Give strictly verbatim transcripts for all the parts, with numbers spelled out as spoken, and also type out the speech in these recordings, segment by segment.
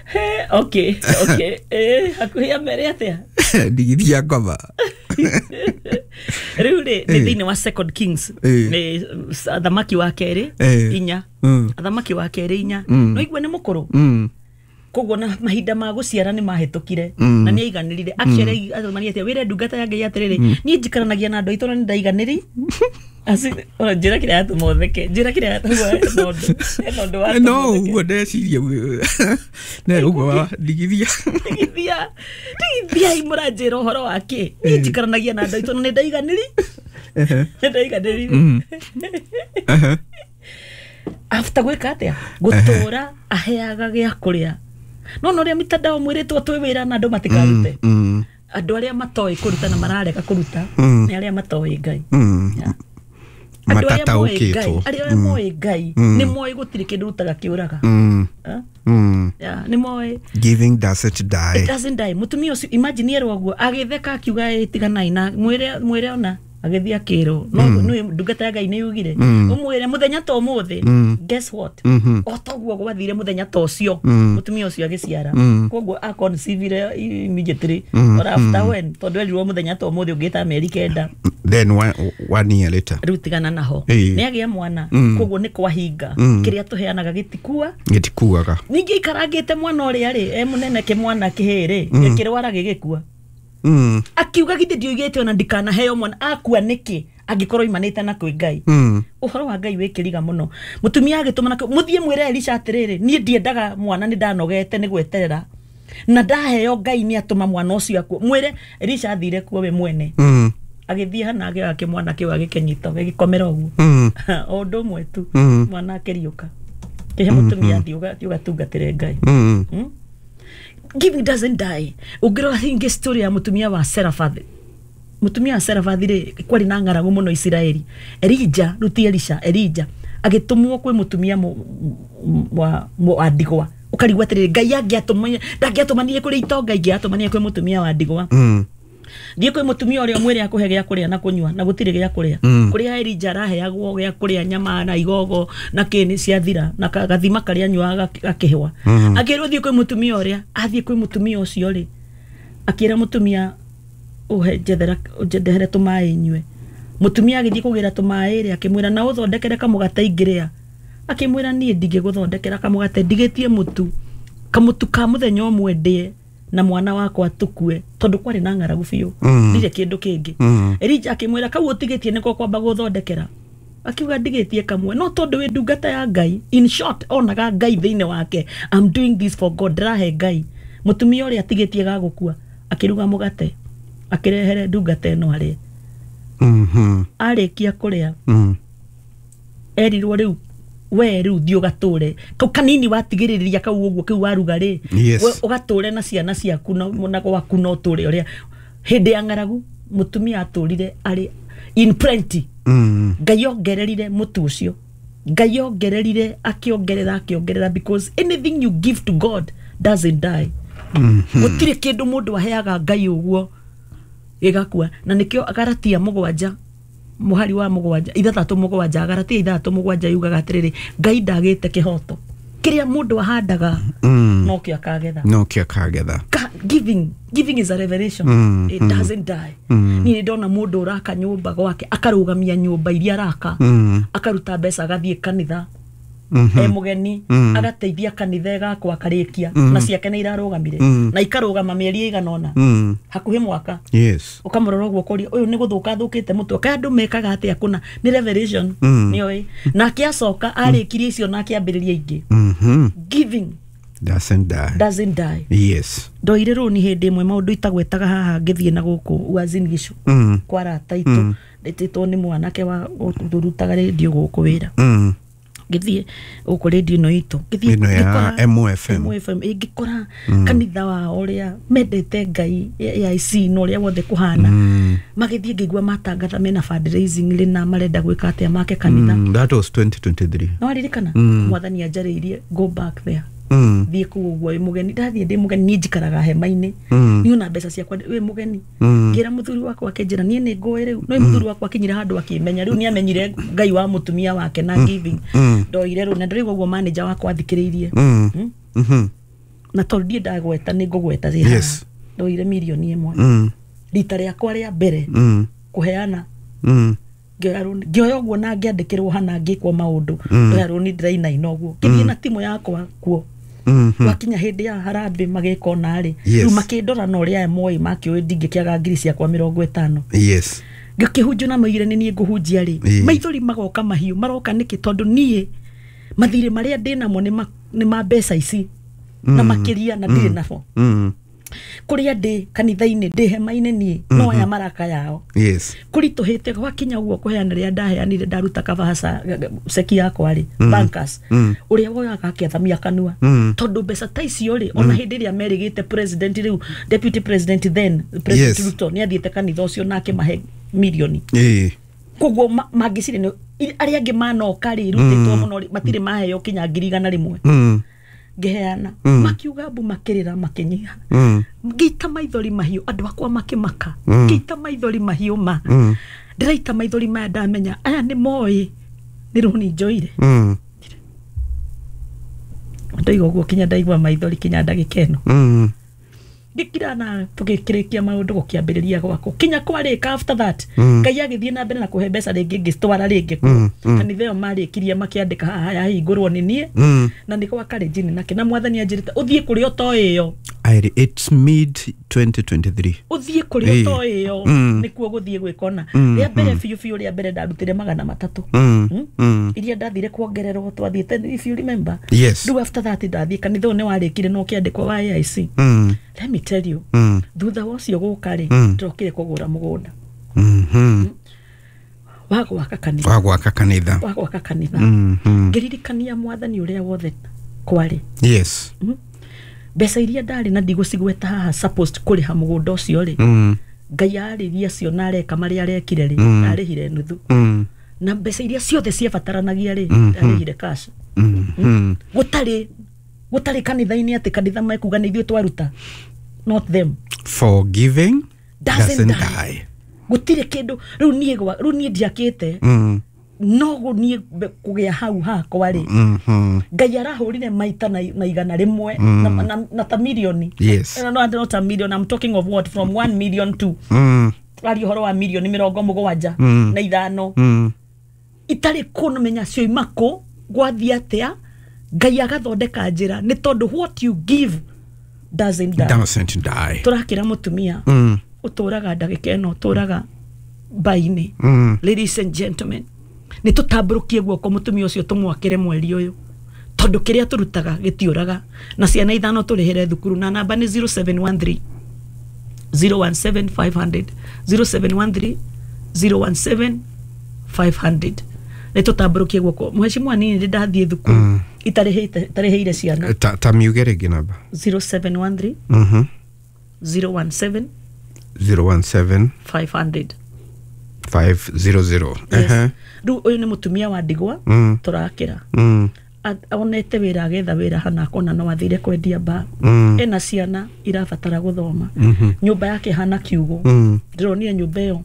He, okay okay eh hakuhi amere atia? Ndigithia ngoma. Rĩu rĩ, nĩ thĩinĩ wa Second Kings, nĩ athamaki wa kerĩ inya, athamaki wa kerĩ inya. No igua nĩ mũkũrũ, koguo na mahinda ma gũciara nĩ mahĩtũkire na nĩ aiganĩrire. Actually athamani atĩa, wĩre ndungata ya Ngai atĩrĩrĩ, niĩ njikaranagia na andũ aitũ na nĩ ndaiganĩri. Asi ona njĩra kĩrĩa yatũma ũtheke, njĩra kĩrĩa yatũma hena ũndũ watũma. No ũguo ndeciria ne ũguo ndigithia. Ndigithia ndigithia imũranjĩra ũhoro wa kĩ? Niĩ njikaranagia na andũ aitũ na nĩ ndaiganĩri, nĩ ndaiganĩrire. After gwĩka atĩa? Gũtũra aheaga gĩa kũrĩa. No no rĩa mitandao mwĩrĩtwo twĩ wĩra na andũ matikarute. Andũ arĩa matoĩ kũruta na mararega kũruta nĩ arĩa matoĩ Ngai. Matataũkĩtwo. Arĩa moĩ Ngai nĩ moĩ gũtirĩ kĩndũ rutaga kĩũraga. Nĩ moĩ. Giving doesn't die. It doesn't die. Mũtumia ũcio imagine erwo ũguo agĩtheka akiuga ĩtiganai na mwĩre mwĩre ona agĩthiĩ akĩrwo no nĩ ndungata ya Ngai nĩ yugire ũmwĩre mũthenya ta ũmũthĩ. Guess what, o toguo gwathire mũthenya ta ũcio mũtumia ũcio agĩciara. Koguo a conceive immediately or after when, tondũ erirwo mũthenya ta ũmũthĩ ũngĩta mĩeri kenda. Then one, one year later rĩu tigana naho nĩ agĩa mwana. Koguo nĩ kwahinga kĩrĩa tũheanaga gĩtikua gĩtikuaga. Ningĩ ikarangĩte mwana ũrĩa rĩ e mũnene kĩmwana kĩhĩ rĩ gĩkĩrwara gĩgĩkua. Mm. Akiuga githĩ ndioigĩte ona ndikanaheo mwana akua nĩkĩ angĩkorwo imanĩte na kwĩ Ngai. Mm. Ũhoro wa Ngai wĩkĩriga mũno. Mũtumia agĩtũmana mũthiĩ mwĩre Elisha atĩrĩrĩ, niĩ ndiendaga mwana, nĩ ndanogete nĩ gweterera na ndaheo Ngai nĩ atũma mwana ũcio akue. Mwĩre Elisha athire kuo we mwene. Mm. Agĩthiĩ hana agĩoya kĩmwana kĩu agĩkĩnyita gĩgĩkomera ũguo. Mm. O ũndũ ũmwe tu. Mm. Mwana akĩriũka kĩhe mũtumia athiĩ ũgatungatĩre Ngai. Mm. Mm? Giving doesn't die. Ũngĩrora hingĩ story ya mũtumia wa Serafathi. Mũtumia wa Serafathi rĩ, kwarĩ na ng'aragu mũno Isiraeli. Elija, rĩu ti Elisha, Elija agĩtũmwo kwĩ mũtumia wa wa ndigwa. Ũkarigwo atĩrĩrĩ, Ngai angĩatũmania ndangĩatũmanire kũrĩ itonga, ingĩatũmanire kwĩ mũtumia wa ndigwa. Thiĩ kwĩ mũtumia ũrĩa ũmwĩre akũhe gĩa kũrĩa na kũnyua na gũtirĩ gĩa kũrĩa. Kũrĩa Elija araheagwo gĩa kũrĩa nyama na igogo na kĩni ciathira na gathima karĩa anyuaga gakĩhwa. Akĩrwo thiĩ kwĩ mũtumia ũrĩa, athiĩ kwĩ mũtumia ũcio rĩ, akĩra mũtumia ũhe njethera njendehere tũmaĩ nyue. Mũtumia agĩthiĩ kũgĩra tũmaĩ rĩ, akĩmwĩra na ũthondekere kamũgate ingĩrĩa. Akĩmwĩra niĩ ndingĩgũthondekera kamũgate, ndigĩtie mũtu kamũtu ka mũthenya ũmwe ndĩe na mwana wakwa tukue, tondu kwari na ng'aragu biũ, ndirĩ kĩndũ kĩngĩ. Elija akĩmwĩra kau ũtigĩtie nĩko kwamba gũthondekera. Akiuga ndigĩtie kamwe, no tondu wĩ ndungata ya Ngai, in short onaga Ngai thĩinĩ wake, I'm doing this for God, ndĩrahe Ngai. Mũtumia ũrĩa atigĩtie gagũkua akĩruga mũgate akĩrehere ndungata ĩno arĩe. Arĩkia kũrĩa erirwo rĩu we rĩu thiĩ ũgatũre kau kanini watigĩrĩria kau ũguo kĩu waruga rĩ, we ũgatũre na ciana ciaku na gwaku no ũtũre ũrĩa. Hĩndĩ ya ng'aragu mũtumia atũrire arĩ in plenty. Ngai ongererire mũtu ũcio, Ngai ongererire akĩongerera akĩongerera, because anything you give to God doesn't die. Gũtirĩ kĩndũ mũndũ aheaga Ngai ũguo gĩgakua. Na nĩkĩo Galatia mũgwanja muhari wa mũgwanja ithathatũ mũgwanja Galatia ithathatũ mũgwanja yugaga atĩrĩrĩ, Ngai ndagĩte kĩhoto, kĩrĩa mũndũ ahandaga nokĩo akagetha, nokĩo akagetha. Giving, giving is a revelation. Mm, it mm, doesn't die. Mm. Niĩ ndona mũndũ ũraka nyũmba gwake akarũgamia nyũmba iria araka, mm, akaruta mbeca agathiĩ kanitha e mũgeni, mm, agateithia kanitha ĩgakwa akarĩkia, mm, na ciake nĩ irarũgamire, mm, na ikarũgama mĩeri ĩigana ũna, mm, hakuhĩ mwaka. Yes. Ũkamũrora ũguo ũkoria ũyũ nĩ gũthũka athũkĩte mũtwe, kaĩ andũ mekaga atĩa kũna? Nĩ revelation. Mm. Nĩoĩ. Nake acoka arĩkirie icio na akĩambĩrĩria ingĩ. Mm-hmm. Giving doesn't die. Doesn't die. Yes. Ndoire rũni hĩndĩ ĩmwe maũndũ itagwetaga haha ngĩthiĩ na gũkũ Uasin Gishu, mm, kwa arata aitũ, ndĩtĩtwo nĩ mwanake wa ũrutaga rĩndiũ gũkũ wĩra. Mm. Ngĩthiĩ gũkũ rĩndiũ ĩno itũ, ngĩthiĩ ĩno ya M O F M, M O F M, ngĩkora kanitha wao ũrĩa mendete Ngai A I C na ũrĩa wothe kũhana, magĩthiĩ ngĩigua matangatha mena fundraising rĩ na marenda gwĩka atĩa make kanitha. That was twenty twenty-three. No waririkana? Mwathani anjarĩirie go back there. Mm. Thiĩ kũu ũguo wĩ mũgeni, ndathiĩ ndĩ mũgeni, niĩ njikaraga hema-inĩ. Mm. Niĩ ona mbeca ciakwa wĩ mũgeni. Mm. Ngĩra mũthuri wakwa akĩnjĩra niĩ nĩ ngũĩ rĩu. No mũthuri wakwa akinyire handũ akĩmenya rĩu nĩ amenyire Ngai wa mũtumia wake na giving. Mm. Ndoire rĩu na ndĩraigua ũguo manager wakwa athikĩrĩirie. Mm. Mm. Mhm. Na tondũ ndiĩ ndagweta nĩ ngũgweta rĩ haha. Yes. Ndoire mirioni ĩmwe. Mm. Rita rĩakwa rĩa mbere Mm. kũheana Mm. ngĩoya rũni, ngĩoya ũguo na ngĩandĩkĩrwo hana ngĩkwo maũndũ. Mm. Ndoya rũni ndĩrainaina ũguo. Ngĩthiĩ na timu yakwa kuo. Mhm. Gwakinya hĩndĩ ya harambĩ magĩka ona rĩ. Yes. Rĩu makĩndora na ũrĩa aya moĩ makĩũĩ ndingĩkĩaga ngiri ciakwa mĩrongo ĩtano. Yes. Ngĩkĩhunjio na maugire nĩ niĩ ngũhunjia rĩ. Ĩĩ. Maithori magoka mahiũ maroka nĩkĩ tondũ niĩ mathirĩ marĩa ndĩnamo nĩ ma, nĩ ma mbeca ici na makĩria na ndirĩ nabo. Mm. Kũrĩa ndĩ kanitha-inĩ ndĩ hema-inĩ niĩ no aya maraka yao. Yes. Kũritũhĩte gwakinya ũguo kũheana rĩrĩa ndaheanire ndaruta kabaca ceki yakwa rĩ bankers Mm. ũrĩa woyaga akĩathamia kanua Mm. tondũ mbeca ta icio rĩ ona hĩndĩ ĩrĩa merĩgĩte president rĩu deputy president then president Yes. Ruto nĩ athiĩte kanitha ũcio na akĩmahe mirioni. Ĩĩ. Koguo ma- mangĩciria nĩ arĩa angĩ manoka rĩ rutĩtwo mũno rĩ matirĩ maheo kinya ngiri igana rĩmwe. Mm. Ngĩheana Mm. makiuga mbu makĩrĩra makĩnyiha. Mm. Ngĩita maithori mahiũ andũ akwa makĩmaka. Mm. Ngĩita maithori mahiũ ma Mm. ndĩraita maithori maya ndamenya aya nĩ moĩ nĩ rũni njoire. Mm. Ndoiga ũguo kinya ndaigua maithori kinya ndagĩka ĩno. Mm. Ngĩkira na tũgĩkĩrĩkia maũndũ gũkĩambĩrĩria gwakwo kinya kwarĩka after that. Mm. Ngai agĩthiĩ na mbere na kũhe mbeca rĩngĩ ngĩcitwara rĩngĩ kuo. Mm. Mm. Kanitha ĩyo marĩkirie makĩandĩka haha yahingũrwo nĩ niĩ Mm. na nĩ gwa Kalenjin nake na mwathani anjĩrĩte ũthiĩ kũrĩa ũtoĩ ĩyo. Airi, it's mid twenty twenty-three. Ũthiĩ kũrĩa Ĩĩ. ũtoĩ ĩyo Mm. nĩkuo gũthiĩ gwĩkona. Mm. Rĩa mbere biũ biũ rĩa mbere ndarutire magana matatũ. Mm. Mm. Mm. Iria ndathire kuongererwo twathiĩte if you remember. Yes. Rĩu after that ndathiĩ kanitha ũyũ nĩ warĩkire na ũkĩandĩkwo wa A I C. Mm. Let me tell you. Mm. Thutha wa ũcio gũka rĩ Mm. ndĩrokire kũgũra mũgũnda. Mhm. Wa gwaka kanitha. Wa gwaka kanitha. Wa gwaka kanitha. Mhm. Ngĩririkania mwathani ũrĩa wothe kwarĩ. Yes. Mm. Mbeca iria ndarĩ na ndigũcigweta haha supposed kũrĩha mũgũnda ũcio rĩ. Mm. Ngai arĩria cio na areka marĩa arekire rĩ Mm. ndarĩhire nuthu. Mm. Na mbeca iria ciothe ciabataranagia rĩ Mhm. ndarĩhire cash. Mhm. Gũtarĩ gũtarĩ kanitha-inĩ atĩ kanitha mekuga nĩ ithuĩ twaruta. Not them. Forgiving Doesn't doesn't die. die. Gũtirĩ kĩndũ rĩu niĩ gwa rĩu niĩ ndiakĩte Mm. no gũniĩ kũgĩa hau hakwa rĩ. Mhm. Ngai arahũrire maita na, na igana rĩmwe Mm. na, na, na ta milioni. Yes. No, no, not a million. I'm talking of what from one million to Mm. ari ũhoro wa milioni mĩrongo mũgwanja Mm. na ithano. Mm. Itarĩ kũmenya cioima kũ gwathiĩ atĩa Ngai agathondeka njĩra nĩ tondũ what you give doesn't die. Doesn't die. Tũrakĩra mũtumia Mm. ũtũraga ndagĩka ĩno ũtũraga mbainĩ. Mm. Ladies and gentlemen, nĩ tũtambũrũkie guoko mũtumia ũcio tũmwakĩre mweri ũyũ tondũ kĩrĩa tũrutaga gĩtiũraga na ciana ithano tũrĩhĩre thukuru na namba nĩ zero seven one three zero one seven five hundred zero seven one three zero one seven five hundred. Nĩ tũtambũrũkie guoko mheshimiwa nini ndĩ ndathiĩ thukuru Mm. itarĩhĩte itarĩhĩire ciana. Ta, ta miuge rĩngĩ namba. zero seven one three Mhm. zero one seven zero one seven five hundred five zero zero. Yes. Ehe. Rĩu ũyũ nĩ mũtumia wa ndigwa Mm. tũrakĩra. Mm. A- onete wĩra agetha wĩra hana akona no athire kwendia mbaa. Mm. Ena ciana irabatara gũthoma. Mhm. Nyũmba yake hana kiugũ. Mm. Ndĩronire nyũmba ĩyo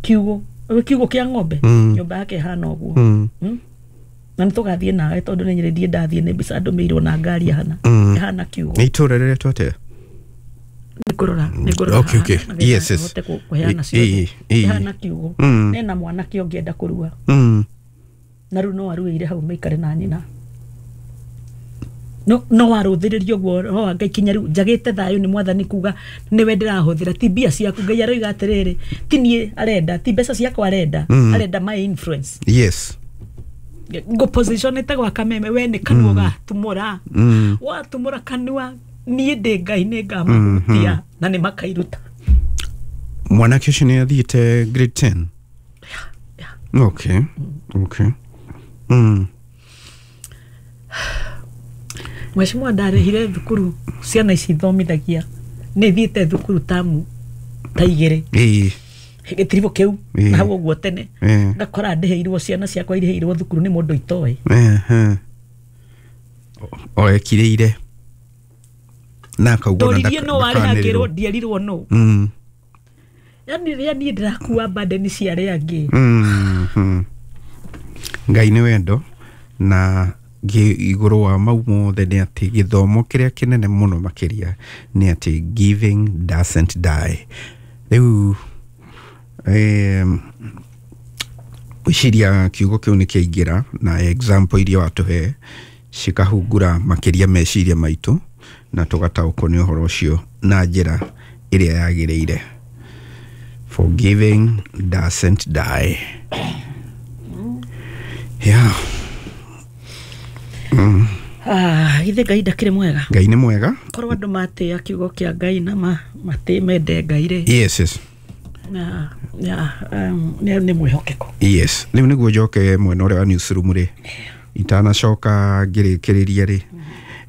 kiugũ kiugũ kĩa ng'ombe. Mm. Nyũmba yake hana ũguo. Mm. Mm. Na nĩtũgathiĩ nawe tondũ nĩ nyĩrĩ ndathiĩ nĩ mbica ndũmĩirwo na ngari hana. Mm. Hana kiugũ. Nĩ itũũra rĩretwo atĩa? Nĩngũrora nĩngũrora Okay, okay. haha, nĩgetha Yes, yes. hote kũ- kũheana Ĩ- ciothe. ĩ- ĩ. Hana kiugũ. Mm. Nena mwanake ũngĩenda kũrua. Mm. Na rĩu no aruĩire hau maikare na nyina. No no warũthĩrĩrio ũguo roho wa Ngai kinya rĩu njagĩte thayũ nĩ mwathani kuga nĩwe ndĩrahũthĩra ti mbia ciaku. Ngai aroiga atĩrĩrĩ ti niĩ arenda ti mbeca ciakwa arenda. Mm. Arenda my influence. Yes. Ngũpositionĩte gwa kameme we nĩ kanua ũgatumũra. Mm. Watumũra kanua niĩ ndĩ Ngai nĩ ngamahutia Mhm. na nĩ makairuta. Mwanake ũcio nĩ athiĩte grade ten? Yeah, yeah. Okay. Okay. Mm. Mheshimiwa ndarĩhire thukuru ciana ici ithomithagia nĩ thiĩte thukuru tamu ta igĩrĩ. Ĩĩ. Gĩtiribũ kĩu Ĩĩ. na hau ũguo tene. Ĩĩ. Ngakora ndĩhĩirwo ciana ciakwa irĩhĩirwo thukuru nĩ mũndũ itoĩ. Ehe. O ekirĩire na akauga ona ndoririe no warĩ hakĩrwo ndierirwo no. Mm. Yani rĩrĩa niĩ ndĩrakua burden cia arĩa angĩ. Mm. Ngai nĩ wendo na igũrũ wa mau mothe nĩ atĩ gĩthomo kĩrĩa kĩnene mũno makĩria nĩ atĩ giving doesn't die. Rĩu gwĩciria kiugo kĩu nĩ kĩaingĩra na example iria watũhe cikahungura makĩria meciria maitũ na tũgataũkwo nĩ ũhoro ũcio na njĩra ĩrĩa yagĩrĩire. Forgiving doesn't die. Yeah. Mm. Ah, ithe Ngai ndakĩrĩ mwega. Ngai nĩ mwega. Korwo andũ matĩa kiugo kĩa Ngai na ma matĩ mende Ngai rĩ. Yes, yes. Na ya um, nĩ mwĩhokeko. Yes. Rĩu nĩguo njoke mwena ũrĩa wa newsroom rĩ. Itanacoka ngĩrĩkĩrĩria rĩ.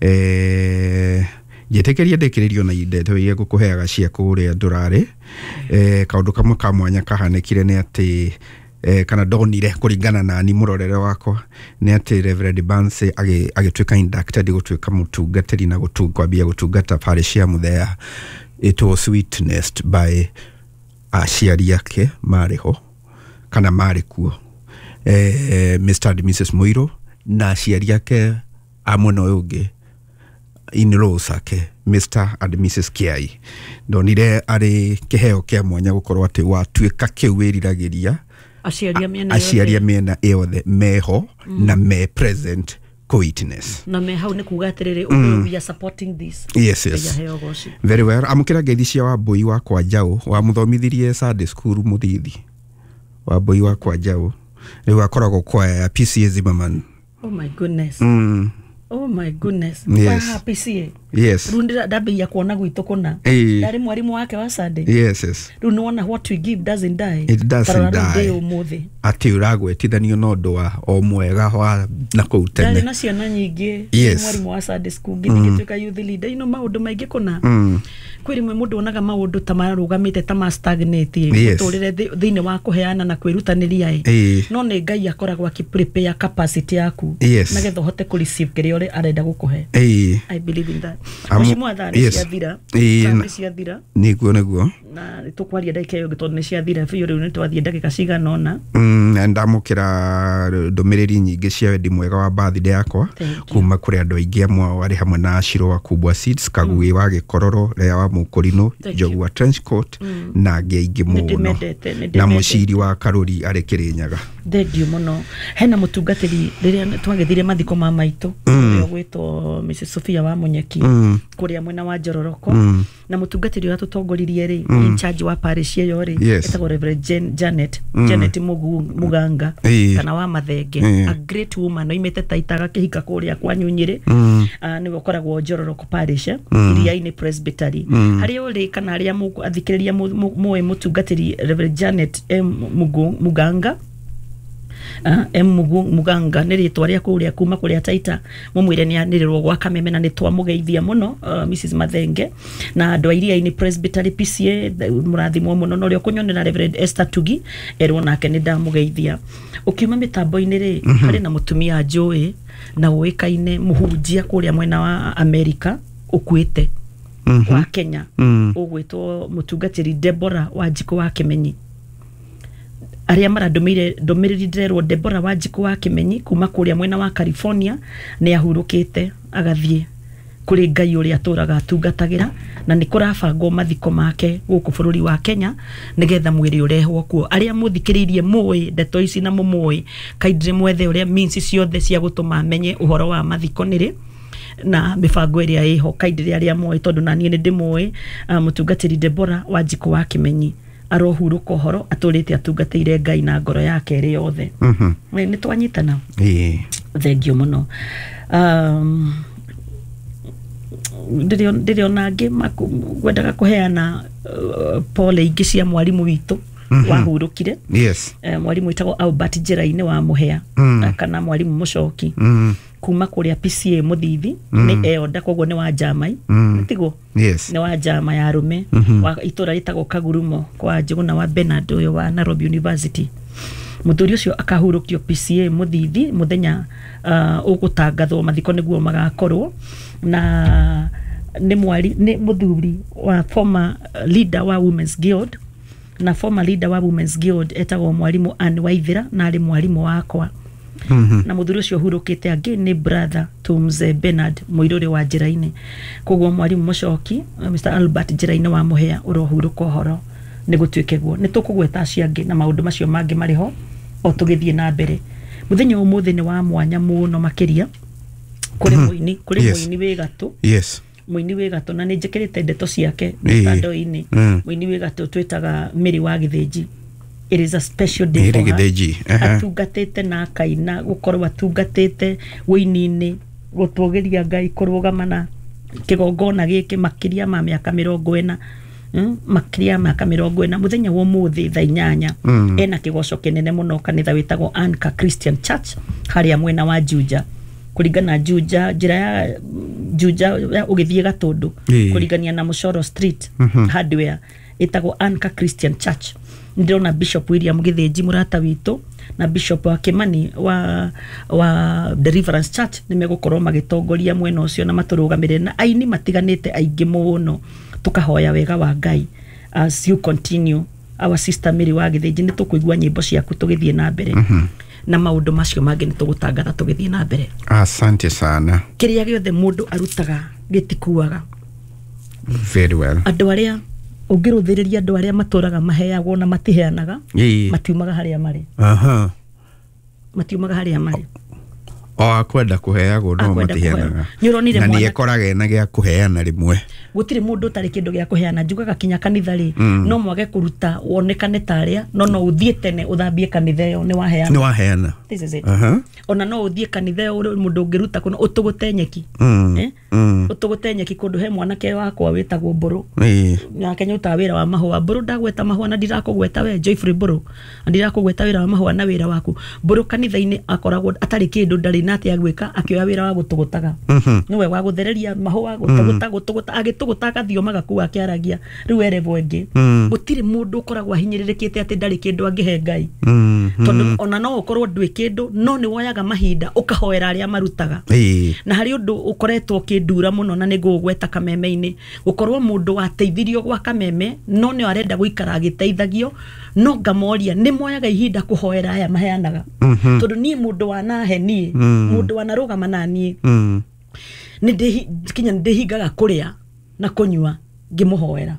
Eh, njĩtĩkĩrie ndĩkĩrĩrio na ndeto iria ngũkũheaga cia kũrĩa ndũrarĩ. Eh, kaũndũ kamwe ka mwanya kahanĩkire nĩ atĩ eh, kana ndonire kũringana na ni mũrorere wakwa nĩ atĩ Reverend Banse agĩtuĩka inducted gũtuĩka mũtungatĩri na kwambia gũtungata parish ya Muthea. It was witnessed by aciari ake marĩ ho kana marĩ kuo, eh, Mister and Missus Muiro na aciari ake a mwena ũyũ ũngĩ in-laws ake Mister and Missus Kiai. Ndonire arĩ kĩheo kĩa mwanya gũkorwo atĩ watuĩka kĩu wĩriragĩria aciari a mĩena yothe meho mm. na me present co-witness na me hau nĩ kuga atĩrĩrĩ mm. we are supporting this. Yes, yes. Very well. Amũkĩra ngeithi cia Wambũi wa kwa Njaũ wamũthomithirie Sunday school Mũthithi. Wambũi wa kwa Njaũ rĩu akoragwo kwaya ya P C A Zimmerman. Oh my goodness. Mm. Oh my goodness. Yes. Wa P C A. Yes. Rĩu ndambĩrĩria kuona gwitũ kũna. Ndarĩ mwarimũ wake wa Sunday. Yes, yes. Rĩu nĩwona what we give doesn't die. It doesn't die. Ũmũthĩ. Atĩ ũragwetithanio na ũndũ wa o mwega wa na kũu tene. Ndarĩ na ciana nyingĩ. Yes. Mwarimũ wa Sunday school ngĩthiĩ ngĩtuĩka youth leader. Ino maũndũ maingĩ kũna. Mm. Kwĩ rĩmwe mũndũ onaga maũndũ ta marũgamĩte ta ma stagnate mũtũrĩre thĩinĩ wa kũheana na kwĩrutanĩria ĩ. No nĩ Ngai akoragwo akĩ prepare capacity yaku nĩgetha ũhote kũ receive kĩrĩa ũrĩa arenda gũkũhe. I believe in that. Mheshimiwa thaa nĩ ciathira. Thaa nĩ ciathira. Nĩguo nĩguo. Na tũkwaria ndagĩka ĩyo tondũ nĩ ciathira biũ rĩu nĩ twathiĩ ndagĩka cigana ũna. Mm, ndamũkĩra ndũmĩrĩri nyingĩ cia wendi mwega wa birthday yakwa kuma kũrĩ andũ aingĩ amwe ao arĩ hamwe na Ashiro wa Kubwa Seeds, Kagui wa Gĩkororo, Lea wa Mũkũrinũ, Njogu wa Trenchcoat na angĩ aingĩ mũno na mũciri wa Karũri arĩ Kĩrĩnyaga. Thengiũ mũno. Hena mũtungatĩri rĩrĩa twagĩthire mathiko ma maitũ ũrĩa ũgwĩtwo Missus Sophia wa Munyeki kũrĩa mwena wa Njororoko na mũtungatĩri ũrĩa tũtongoririe rĩ in charge wa parish ĩyo rĩ etagwo Reverend Janet Janet Muganga kana wa Mathenge, a great woman oimĩte Taita agakĩhika kũrĩa kwa Nyunyĩrĩ, nĩwe ũkoragwo Njororoko parish Iriainĩ Presbytery. Harĩa ũrĩ kana arĩa athikĩrĩria mũĩ mũtungatĩri Reverend Janet M Muganga Uh, M Muganga nĩ rĩtwa rĩa kũrĩa kuma kũrĩa Taita mũmwĩre nĩ anĩrĩrwo gwa Kameme na nĩ twamũgeithia mũno uh, Missus Mathenge na andũ a Iriainĩ Presbytery P C A mũrathimwo mũno na ũrĩa ũkũnyonera Reverend Esther Tugi erwo nake nĩ ndamũgeithia. Ũkiuma mĩtambo-inĩ rĩ harĩ na mũtumia njũĩ na ũĩkaine mũhunjia kũrĩa mwena wa Amerika ũkuĩte wa Kenya ũgwĩtwo mũtungatĩri Deborah Wanjikũ wa Kĩmenyi. Arĩa marandũmĩire ndũmĩrĩri ndĩrerwo Deborah Wanjikũ wa Kĩmenyi kuma kũrĩa mwena wa California nĩ ahurũkĩte agathiĩ kũrĩ Ngai ũrĩa atũraga atungatagĩra na nĩ kũrabangwo mathiko make gũkũ bũrũri wa Kenya nĩgetha mwĩrĩ ũrehwo kuo. Arĩa mũthikĩrĩirie mũĩ ndeto ici na mũmũĩ kaindire mwethe ũrĩa means ciothe cia gũtũma amenye ũhoro wa mathiko nĩrĩ na mĩbango ĩrĩa ĩho kaindire arĩa moĩ tondũ na niĩ nĩ ndĩmũĩ mũtungatĩri Deborah Wanjikũ wa Kĩmenyi arohurũka ũhoro atũrĩte atungatĩire Ngai na ngoro yake ĩrĩ yothe. Nĩ twanyitana. Thengiũ mũno. Um, ndĩrĩ ona angĩ ngwendaga kũheana uh, pole ingĩ cia mwarimũ witũ wahurũkire. Yes. Uh, mwarimũ wĩtagwo Albert Njĩra-inĩ wa Mũhĩa mm. kana mwarimũ Mũcoki mm. kuma kũrĩa P C A Mũthithi mm. nĩ eonda koguo nĩ wa Njamai mm. tiguo. Yes. Nĩ wa Njama ya arũme mm -hmm. wa itũra rĩtagwo Kagurumo kwa Njũgũna wa Bernard ũyũ wa Nairobi University. Muthuri ucio akahurukio P C A Muthithi muthenya uh, ugutangathwo mathiko niguo magakorwo na ni mwari ni muthuri wa former leader wa Women's Guild na former leader wa Women's Guild etagwo mwarimu Anne Waithira na ari mwarimu wakwa. Mm -hmm. Na muthuri ucio hurukite angi ni brother to Mzee Bernard Muiruri wa Njiraini. Koguo mwarimu Mucoki Mister Albert Njiraini wa Muhea urohuruka uhoro ni gutuike guo ni tukugweta acio angi na maundu macio mangi mari ho o tugithie na mbere. Muthenya umuthi ni wa mwanya muno makiria kuri muini kuri muini wi gatu. Yes. Muini wi gatu na ni njikirite ndeto ciake mitandao-ini. Muini wi gatu twitaga Mary wa Githinji. It is a special day for her. Atungatite na akaina gukorwo atungatite wini-ini gutugeria Ngai kurugama na kigongona giki makiria ma miaka mirongo ena mm, makiria miaka mirongo ena muthenya wa umuthi thaa inyanya mm. Ena kigoco kinene muno kanitha witagwo Anchor Christian Church haria mwena wa Juja kuringana Juja njira ya Juja ugithie Gatundu kuringania na Mucoro Street mm -hmm. Hardware itagwo Anchor Christian Church. Ndirona Bishop William Githinji murata witu na Bishop wa Kimani wa wa Deliverance Church nimegukorwo magitongoria mwena ucio na maturugamirire na aini matiganite aingi muno tukahoya wega wa Ngai as you continue our sister Mary wa Githinji ni tukuigua nyimbo ciaku tugithie na mbere mm -hmm. na maundu macio mangi ni tugutangatha tugithie na mbere. Asante sana. Kiria giothe mundu arutaga gitikuaga. Very well. Andu aria ungiruthiriria andu aria maturaga maheagwo na matiheanaga matiumaga haria mari. Aha. Matiumaga haria mari. O akwenda kuheagwo no matiheanaga. Ni na ni ekoraga na gĩa kuheana rimwe. Gutiri mundu utari kindu gĩa kuheana njugaga kinya kanitha ri mm. no mwage kuruta wonekane taria no no uthie tene uthambie kanitha iyo ni waheana. Ni waheana. This is it. Aha. Ona no uthie kanitha iyo mundu ungiruta kuno utugute nyeki. Mm. Eh? Mm. Utugute nyeki kundu he mwanake wakwa witagwo Mburu. Eh. Nake nyuta wira wa mahua Mburu ndagweta mahua na ndirakugweta we Joyfrey Mburu. Ndirakugweta wira wa mahua na wira waku. Mburu kanitha-ini akoragwo atari kindu ndari na atia gwika akioya wira wa gutugutaga. Mm -hmm. Niwe wa guthereria mahua gutuguta gutuguta agituguta akathio magaku akiaragia riu erevo ingi. Gutiri mundu ukoragwo ahinyiririkiite ati ndari kindu angihe Ngai. Mm -hmm. Tondu ona no ukorwo ndwi kindu no ni woyaga mahinda ukahoera aria marutaga. E. Na hari undu ukoretwo kindura muno na nigugweta kameme-ini gukorwo mundu wateithirio gwa kameme no ni arenda guikara agiteithagio no ngamoria ni moyaga ihinda kuhoera aya maheanaga. Mm -hmm. Tondu ni mundu wanahe nie mm. mundu wanarugama na nie mm. ni ndi kinya ndihingaga kuria na kunyua ngimuhoera.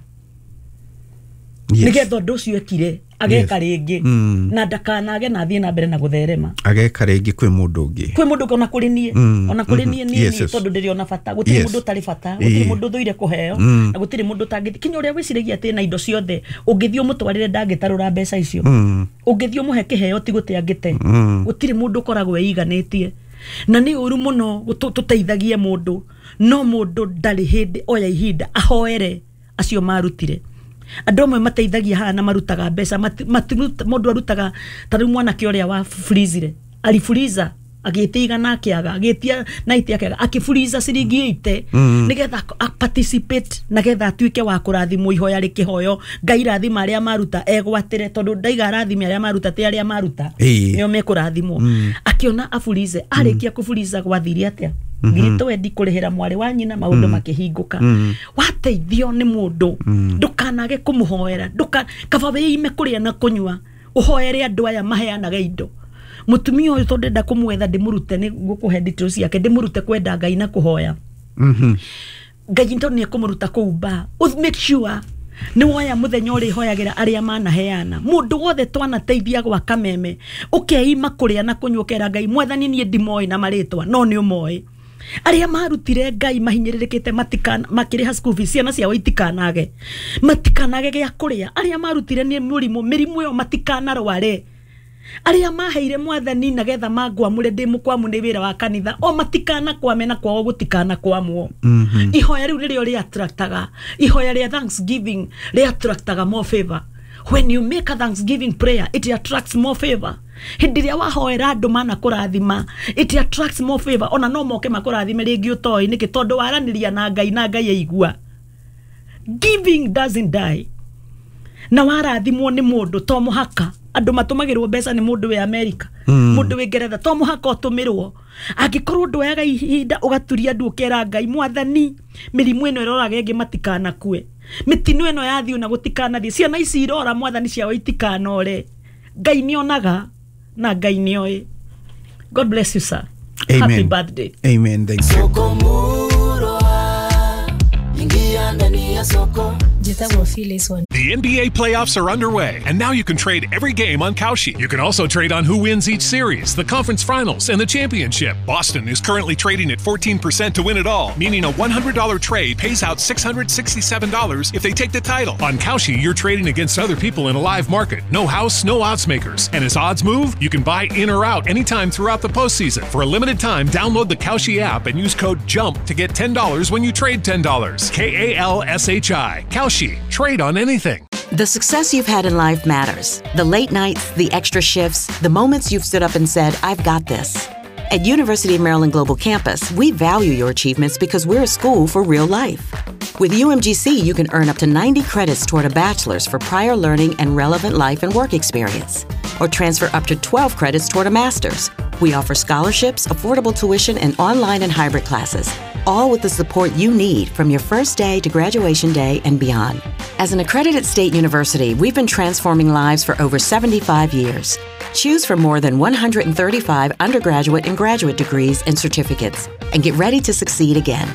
Yes. Nigetha undu ucio ekire ageka ringi mm. na ndakanage na thie na mbere na gutherema ageka ringi kwi mundu ungi kwi mundu ona kuri nie mm. ona kuri mm nie -hmm. nie Yes, yes. tondu ndiri ona bata gutiri Yes. mundu utari bata gutiri Ii. mundu thuire kuheo Mm. na gutiri mundu utangithie kinya uria wiciragia ati na indo ciothe ungithie umutwarire ndangĩtarũra mbeca icio mm. ungithie umuhe kiheo ti gute angĩte mm. gutiri mundu ukoragwo eiganĩtie na ni uru muno tuteithagie mundu no mundu ndari hindi oya ihinda ahoere acio marutire andu amwe mateithagia haha na marutaga mbeca mundu arutaga ta riu mwanake uria wa freezire alifuriza agitia igana akiaga agitia naiti akiaga akifuriza ciringi eighty Mm. nigetha a participate nagetha atuike wa kurathimwo ihoya rikihoyo Ngai rathima aria maruta egwatire tondu ndaiga arathime aria maruta ti aria maruta Ĩĩ. nio mekurathimwo Mm. akiona afurize arikia kufuriza gwathire atia ngiri twendi kurihira mwari wa nyina maundu makihinguka Mm. wateithio ni mundu ndukanage kumuhoera nduka kaba wiime kuria na kunyua uhoere andu aya maheanaga indo mutumia uyu tondu ndenda kumwetha ndimurute ni ngukuhe details ciake ndimurute kwenda Ngai na kuhoya Mhm. Ngai ndo ni ekumuruta kuu ba make sure ni woya muthenya uri hoyagira aria manaheana mundu wothe twanateithia gwa kameme ukeima kuria na kunyua ukera Ngai mwathani nie ndimoĩ na maritwa no ni umoĩ aria marutire Ngai mahinyĩrĩrĩkĩte matikana makĩrĩha school fees ciana ciao itikanage matikanage gĩa kũrĩa aria marutire nĩ mũrimũ mĩrimũ ĩyo matikanarware aria maheire mwathani nagetha mangwamũre ndĩ mũkwamu nĩ wĩra wa kanitha o matikana kwame na kwao gũtikana kwamwo. Mm -hmm. Ihoya rĩu nĩrĩo rĩattractaga ihoya rĩa thanksgiving rĩattractaga more favor. When you make a thanksgiving prayer it attracts more favor. Hĩndĩ ĩrĩa wahoera andũ mana kũrathima it attracts more favor ona no moke makũrathime rĩngĩ ũtoĩ nĩkĩ tondũ waranĩria na Ngai na Ngai aigua. Giving doesn't die. Na warathimwo nĩ mũndũ to mũhaka Andũ matũmagĩrwo mbeca nĩ mũndũ wĩ America, mũndũ wĩ Ngeretha, to mũhaka ũtũmĩrwo. Angĩkorwo ndwoyaga ihinda ũgaturia ndu ũkera Ngai, mwathani, mĩrimũ ĩno ĩroraga ĩngĩ matikanakue, mĩtino ĩno yathiĩ na gũtikanathiĩ, ciana ici irora mwathani ciao itikanore. Ngai nĩonaga na Ngai nĩoĩ. God bless you, sir. Amen. Happy birthday. Amen. Thank you. The N B A playoffs are underway, and now you can trade every game on Kalshi. You can also trade on who wins each series, the conference finals, and the championship. Boston is currently trading at fourteen percent to win it all, meaning a one hundred dollar trade pays out six hundred sixty-seven dollars if they take the title. On Kalshi, you're trading against other people in a live market. No house, no odds makers. And as odds move, you can buy in or out anytime throughout the postseason. For a limited time, download the Kalshi app and use code JUMP to get ten dollars when you trade ten dollars. K A L S H I. Kalshi. Trade on anything. The success you've had in life matters. The late nights, the extra shifts, the moments you've stood up and said, I've got this. At University of Maryland Global Campus, we value your achievements because we're a school for real life. With U M G C, you can earn up to ninety credits toward a bachelor's for prior learning and relevant life and work experience, or transfer up to twelve credits toward a master's. We offer scholarships, affordable tuition, and online and hybrid classes, all with the support you need from your first day to graduation day and beyond. As an accredited state university, we've been transforming lives for over seventy-five years. Choose from more than one hundred thirty-five undergraduate and graduate degrees and certificates, and get ready to succeed again.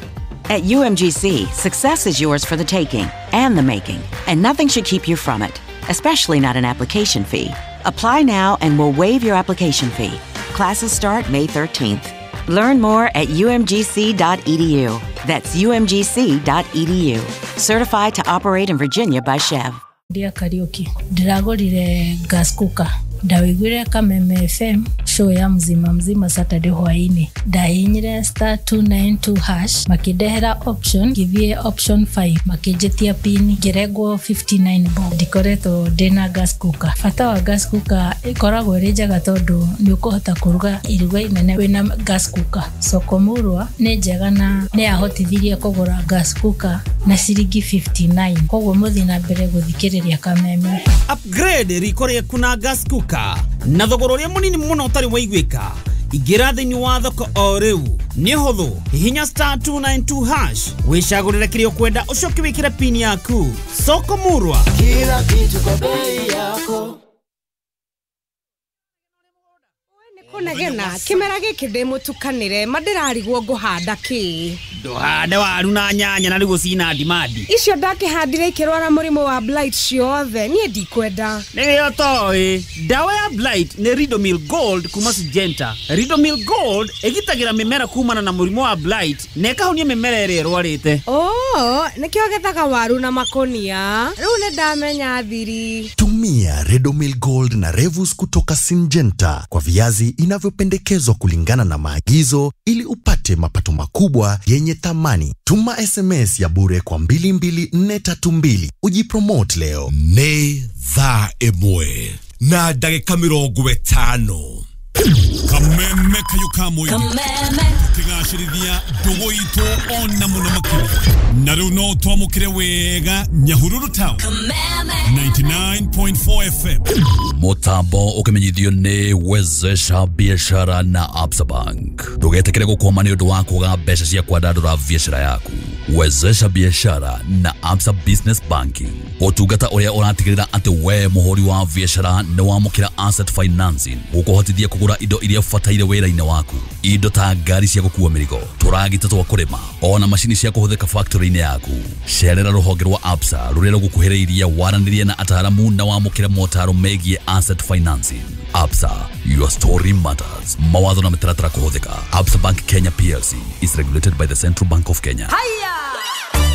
At U M G C, success is yours for the taking and the making, and nothing should keep you from it, especially not an application fee. Apply now and we'll waive your application fee. Classes start May thirteenth. Learn more at U M G C dot E D U. That's U M G C dot E D U. Certified to operate in Virginia by Chev. Dear Karaoke, ndĩragũrire gas cooker. Ndawiguire Kameme F M show ya mzima mzima Saturday hwaini. Ndahinyire star two nine two hash makindehera option ngithie option five makinjitia pin ngiregwo fifty-nine bob. Ndikoretwo ndina gas cooker. Bata wa gas cooker ikoragwo ĩrĩ njega tondũ nĩ ũkũhota kũruga iruga inene wĩna gas cooker. Soko Murwa nĩ njega na nĩ yahotithirie kũgũra gas cooker na ciringi fifty-nine. Koguo mũthiĩ na mbere gũthikĩrĩria Kameme. Upgrade riko rĩaku na gas cooker na thogora ũrĩa mũnini mũno ũtarĩ waiguĩka. Ingĩra thĩinĩ wa thoko o rĩu nĩ hũthũ, hihinya star two nine two hash wĩcagũrĩre kĩrĩa ũkwenda ũcoke wĩkĩre pin yaku. Soko Murwa, kila kitu kwa bei yako. Kunegena kimera giki ndi mutukanire mandirarigwo nguhanda ki nduhande waru na nyanya na rigu cina ndimandi icio ndakihandire ikirwara murimu wa blight ciothe nie ndikwenda nĩrĩo toĩ ndawa ya blight nĩ Ridomil Gold kuma Syngenta. Ridomil Gold ĩgitagĩra mĩmera kumana na mũrimũ wa blight na ĩkahonia mĩmera ĩrĩa ĩrwarĩte. Oh, nĩkĩo gethaga waru na makonia rĩu nĩ ndamenya thiri. Tumia Ridomil Gold na Revus kutoka Syngenta kwa viazi inavyopendekezwa kulingana na maagizo ili upate mapato makubwa yenye thamani. Tuma S M S ya bure kwa mbili mbili nne tatu mbili ujipromote leo. Nĩ thaa ĩmwe na ndagĩka mĩrongo ĩtano. Kameme kayo kamwe tukigacĩrithia ndũgũ itũ ona mũno makĩria na rĩu no twamũkĩre wega Nyahururu Town ninety-nine point four F M. Mutambo ukimenyithio nĩ Wezesha Biashara na Absa Bank. Ndũgetĩkĩre gũkwama nĩ ũndũ wa kwaga mbeca cia kwandandũra biashara yaku. Wezesha Biashara na Absa Business Banking, ũtungata ũrĩa ũratigĩrĩra atĩ we mũhũri wa biashara nĩ wamũkĩra asset financing gũkũhotithia kũgũra indo iria ũbataire wĩra-inĩ waku, indo ta ngari cia gũkua mĩrigo, tũragita twa kũrĩma, ona macini cia kũhũthĩka factory-inĩ yaku. Cerera rũhonge rwa Absa rũrĩa rũgũkuhĩrĩirie waranĩrie na ataaramu na wamũkĩre motaro megiĩ asset financing. Absa, your story matters. Mawatho na mĩtaratara kũhũthĩka. Absa Bank Kenya P L C is regulated by the Central Bank of Kenya. Haya!